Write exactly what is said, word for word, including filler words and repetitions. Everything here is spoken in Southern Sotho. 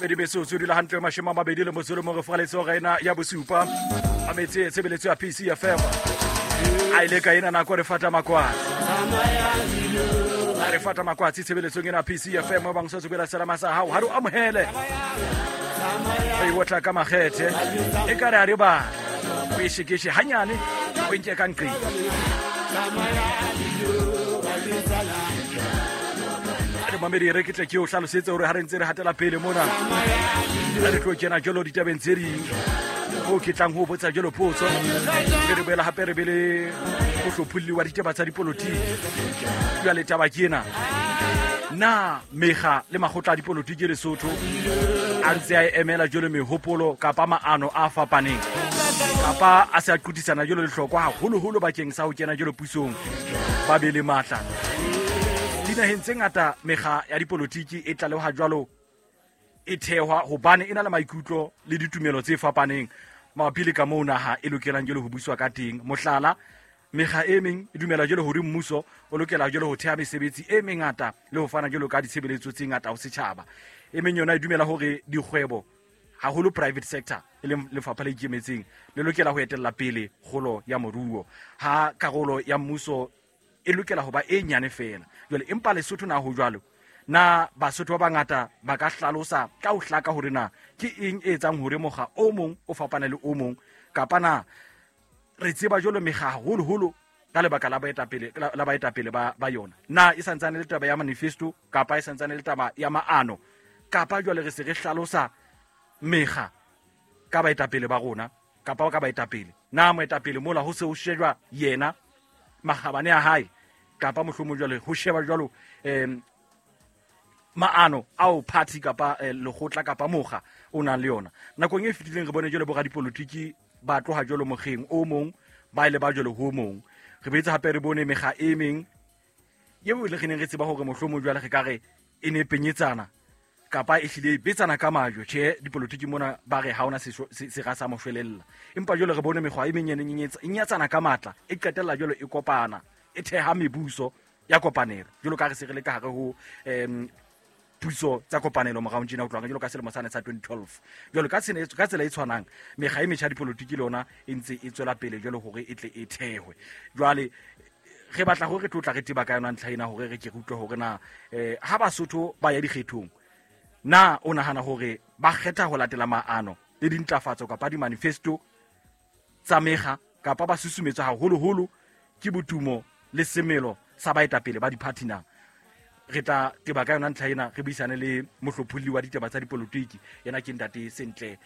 Mabedi metsotso dula hantle mashome a mabedi le motso le mong re fraletse hora ena ya bosupa a metse tshebeletso ya P C F M a ile ka ena nako re fata makwatsi re fata makwatsi tshebeletsong ena P C F M ba bang so tswela selama sa hao ha re amohele re wotla ka makgethe e ka re a re ba o e shekeshe hanyane o nke ka nqi re mamedi re ke tle ke o hlalosetse hore ha re ntse re hatela pele mona re tlo kena jalo ditabeng tse ding o ke tlang ho botsa jalo potso re re boela hape re bele go hlopholli wa ditaba tsa dipolotiki jwale taba ke ena na mekga le makgotla a dipolotiki Lesotho a ntse a emela jalo mehopolo kapa maano a fapaneng kapa a se a qutisana jalo lehlokwa haholoholo bakeng sa ho kena jalo pusong ba be le matla. Dinaheng tse ngata mekga ya dipolotiki e tlaleha jwalo e thehwa hobane e na le maikutlo le ditumelo tse fapaneng mabapi le ka moo naha e lokelang jalo ho buswa ka teng. Mohlala, mekga e meng e dumela jalo hore mmuso o lokela jalo ho theha mesebetsi e mengata le ho fana jalo ka ditshebeletso tse ngata ho setjhaba. E meng yona e dumela hore dikgwebo haholo private sector e leng lefapha le ikemetseng le lokela ho etella pele kgolo ya moruo, ha karolo ya mmuso e lokela ho ba e nyane fela. Jwale empa Lesotho na ho jwalo? Na Basotho ba bangata ba ka hlalosa ka ho hlaka hore na ke eng e etsang hore mokga o mong o fapane le o mong, kapa na re tseba jwalo mekga haholoholo ka lebaka la baetapele la baetapele ba ba yona? Na e santsane le taba ya manifesto kapa e santsane le taba ya maano, kapa jwale re se re hlalosa mekga ka baetapele ba rona kapa ka baetapele? Na moetapele mola ho se ho shejwa yena makgabane a hae, kapa mohlomong jwale ho sheba jwalo em maano ao party kapa eh, lekgotla kapa mokga o nang le yona? Nakong e fetileng re bone jwalo bo radipolotiki ba tloha jwalo mokgeng o mong ba ile ba jwalo ho mong. Re boetse hape re bone mekga e meng eo le re neng re tseba hore mohlomong jwale re ka re e ne penyetsana kapa e hlile e betsana ka majwe. Tjhe, dipolotiki mona ba re ha ona sera sa moshwelella, empa jwale re bone mekgwa e meng e neng e nyatsana ka matla e qetella jwalo e kopana e theha mebuso ya kopanelo jwalo ka re se re le ka hare ho em puso tsa kopanelo morao tjena ho tloha jwalo ka selemo sane sa twenty twelve. Jwalo ka tsela ka tsela e tshwanang mekga e metjha dipolotiki le yona e ntse e tswela pele jwalo hore e tle e thehwe. Jwale re batla hore re tlo tla re teba ka yona ntlha ena hore re ke re utlwe hore na eh ha Basotho ba ya dikgethong na o nahana hore ba kgetha ho latela maano le dintlafatso kapa di-manifesto tsa mekga, kapa ba susumetswa haholoholo ke botumo le semelo sa baetapele ba di-party na? Re tla teba ka yona ntlha ena re buisane le mohlopholli wa ditaba tsa dipolotiki, yena ke ntate Sentle